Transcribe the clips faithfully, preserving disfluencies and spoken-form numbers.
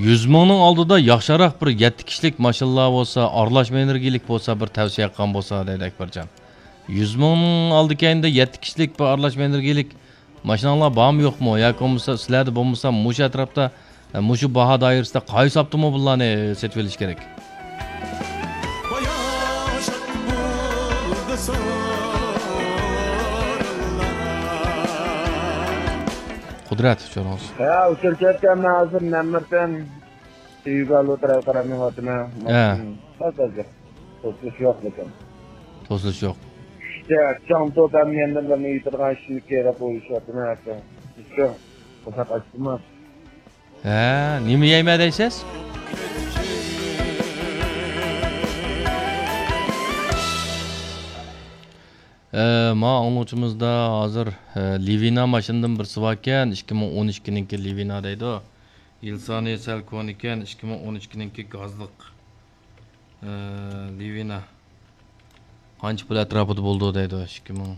يۈز مىڭنىڭ ئالدىدا ياخشىراق بىر يەتتە كىشىلىك ماشىنىلار بولسا، ئارىلاشما ئېنېرگىيەلىك بولسا، بىر تەۋسىيە قىلغان بولسا دەيدۇ ئەكبەرجان. يۈز مىڭنىڭ ئالدى كەينىدە يەتتە كىشىلىك بىر ئارىلاشما ئېنېرگىيەلىك ماشىناڭلار بارمۇ يوقمۇ؟ ياكى بولمىسا سىلەردە بولمىسا مۇشۇ ئەتراپتا، مۇشۇ باھا دائىرىسىدە قايسى ئاپتوموبىللارنى سېتىۋېلىش كېرەك؟ قۇدرەت، ئۇچۇرىڭىز. ھە، ئۇچۇر كەتكەن، مەن ھازىر نەمرتىن تۈيگە ئالۇ تەرەپ قاراپ مېڭىۋاتىمەن. ھە. ماشىنا ئاز-ئاز گەپ. توسۇلۇش يوق لېكىن. توسۇلۇش يوق. ئىشتە چاڭ توپ ھەممە يەردىن بىرنى يېتىدىغان ئىشنى كېرەپ ئويلىشىۋاتىمەن ھەتتا. شۇ قورساق ئاچتىمۇ؟ ھە، نېمە يەيمەن دەيسىز؟ ئە، ما ئاڭلىغۇچىمىزدا ھازىر، ئە، لىۋىنا ماشىنىدىن بىرسى باركەن، ئىككى مىڭ ئون ئىككىنىڭكى لىۋىنا دەيدۇ. يىل سانى سەل كونىكەن، ئىككى مىڭ ئون ئىككىنىڭكى گازلىق، ئە، لىۋىنا. قانچە پۇل ئەتراپىدا بولىدۇ دەيدۇ، ئىككى مىڭ.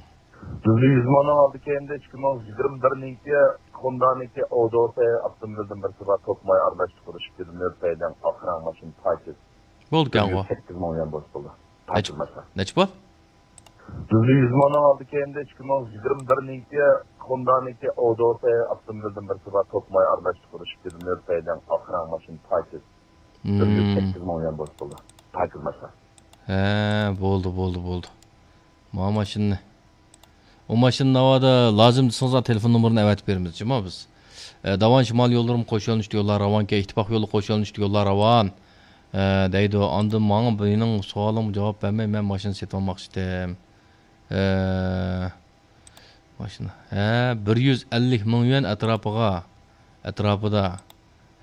بىزدە يۈز مىڭنىڭ ئالدى كەينىدە ئىككى مىڭ يىگىرمە بىرنىڭكى خوندانىڭكى ئودوسى ئاپتوموبىلدىن بىرسى بار، توك ماي ئارىلاش تۇرۇش كىلىمېتىر سەيدىڭ ئاخىرىنىڭ ماشىنا پاكىز. بولدى بىر يۈز سەككىز مىڭ يۈەن بولسا بولدى. پاكىز ماشىنا. نەچچە پۇل؟ بىزدە يۈز مىڭنىڭ ئالدى كەينىدە ئىككى مىڭ يىگىرمە بىرنىڭكى خوندانىڭكى ئودوسى ئاپتوموبىلدىن بىرسى بار، توك ماي ئارىلاش تۇرۇش كىلىمېتىر سەيدىڭ ئاخىرىنىڭ ماشىنا پاكىز. بىر يۈز سەككىز مىڭ يۈەن بولسا بولدى. پاكىز ماشىنا. ھە، بولدى، بولدى، بولدى. ما ماشىنىنى. ئۇ ماشىنا ناۋادا لازىم دېسىڭىزلا تېلېفون نومۇرىنى ئەۋەتىپ بېرىمىز، جۇمۇ بىز. ئە، داۋان شىمال يوللىرىمۇ قوش يۆنىلىشتە يوللار راۋانكەن، ئىتتىپاق يولى قوش يۆنىلىشتە يوللار راۋان. ئە، دەيدۇ. ئاندىن ماڭا مېنىڭ سوئالىمغا جاۋاب بەرمەي، مەن ماشىنا سېتىۋالماقچىدىم. ئە، ماشىنا. ھە، بىر يۈز ئەللىك مىڭ يۈەن ئەتراپىغا، ئەتراپىدا.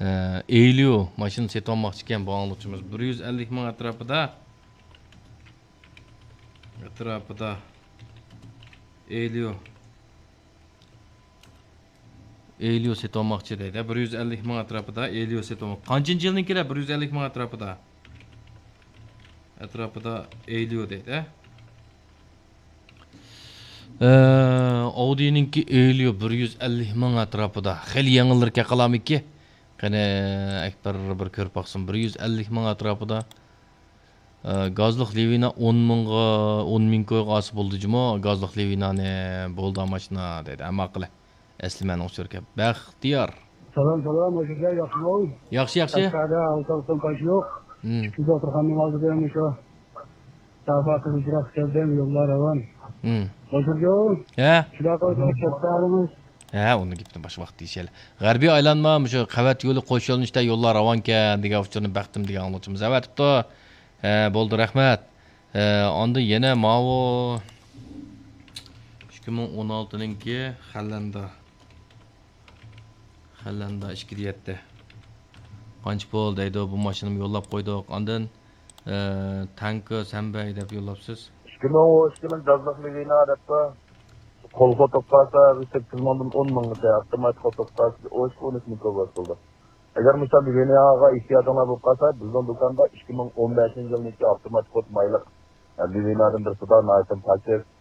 ئە، ئېيليۇ ماشىنا سېتىۋالماقچىكەن بۇ ئاڭلىغۇچىمىز. بىر يۈز ئەللىك مىڭ ئەتراپىدا. ئەتراپىدا. ئېيليۇ. ئېيليۇ سېتىۋالماقچى دەيدۇ. بىر يۈز ئەللىك مىڭ ئەتراپىدا ئېيليۇ سېتىۋالماق. قانچىنچى يىلنىڭكى دە؟ بىر يۈز ئەللىك مىڭ ئەتراپىدا. ئەتراپىدا ئېيليۇ دەيدۇ. ئە، ئاۋدىنىڭكى ئېيليۇ بىر يۈز ئەللىك مىڭ ئەتراپىدا. خېلى يېڭىلىرى كەقالامىكى؟ قېنى، ئەكبەر بىر كۆرۈپ باقسۇن. بىر يۈز ئەللىك مىڭ ئەتراپىدا. ئە، گازلىق لىۋىنا ئون مىڭغا، ئون مىڭ كويغا ئالسا بولدى جۇمۇ، گازلىق لىۋىنانى. بولدى ماشىنا دەيدۇ. ئەمما قىلە. ئەسلى مەنىڭ ئۇچۇركەن. بەختىيار. سالام، سالام، ھوش كەلدىڭ، ياخشىمۇ؟ ياخشى، ياخشى. قەشقەردە ئالتە ئاپتوم قاچ يوق. مم. ئىككى دوختۇرخانىنىڭ ئالدىدا مۇشۇ. ساپا قىزىلچىراغ كەلدىم، يوللار راۋان. مم. ھوش كەلدىڭ. ھە. شۇنداق قىلىپ، كەتتى ھالىمىز. ھە، ئۇنىڭ گېپىنى باشقا ۋاقىت دېيىشەيلى. غەربىي ئايلانما مۇشۇ قەۋەت يولى قوش يۆنىلىشتە يوللار راۋانكەن دېگەن ئۇچۇرنى بەختىم دېگەن ئاڭلىغۇچىمىز ئەۋەتىپتۇ. ھە، بولدى، رەھمەت. ھە، ئاندىن يەنە ماۋۇ ئىككى مىڭ ئون ئالتىنىڭكى خەلەندا. خەلەندا ئىككى دە يەتتە. قانچە پۇل دەيدۇ، بۇ ماشىنىمۇ يوللاپ قويدۇق. ئاندىن، ئە، تانكا سەنبەي دەپ يوللاپسىز. ئىككى مىڭ ئون ئىككى مىڭ گازلىق لىۋىنا دەپتۇ. قول خوتۇپ قالسا، بىر سەككىز مىڭدىن ئون مىڭغىچە، ئاپتومات خوتۇپ قالسا، ئون ئىككى، ئون ئۈچ مىڭ كوي بولدى. ئەگەر مۇشۇ لىۋىناغا ئېھتىياجىڭلار بولۇپ قالسا، بىزنىڭ دۇكاندا ئىككى مىڭ ئون بەشىنچى يىلنىڭكى ئاپتومات خوت مايلىق، ئە، لىۋىنادىن بىرسى بار، ناھايىتى پاكىز.